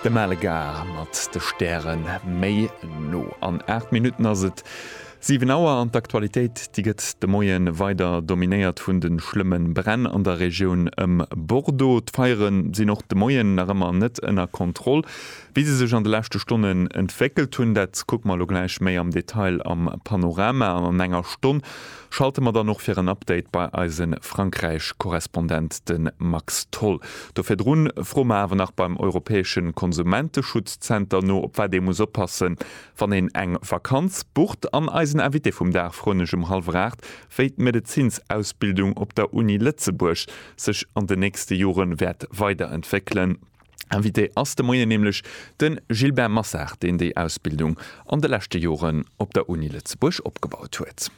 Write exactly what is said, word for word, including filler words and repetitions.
De Malegar mat de Stäre méi no. An aacht Minutten ass et siwen Auer an d'Aktualitéit, déi gëtt de Moie weider dominéiert vun de schlëmme Bränn an der Regioun ëm Bordeaux. D'Feiere sinn och de Moien nach ëmmer net ënner Kontroll. Wéi se sech an de leschte Stonnen entwéckelt hunn, dat kucke mer elo gläich méi am Detail am Panorama. An an enger Stonn schalte mer dann och fir en Update bei eise Frankräich-Korrespondent, de Max Tholl. Do virdrun froe mer awer nach beim Europäesche Konsumenteschutzzenter no, op wat ee muss oppassen, wann een eng Vakanz bucht. An eisen Invité vum Dag froen ech um hallwer aacht, wéi d'Medezinsausbildung op der Uni Lëtzebuerg sech an den nächste Jore wäert weiderentwéckelen. Invité ass de Moien nämlech de Gilbert Massard, deen déi Ausbildung an de leschte Joren op der Uni Lëtzebuerg opgebaut huet.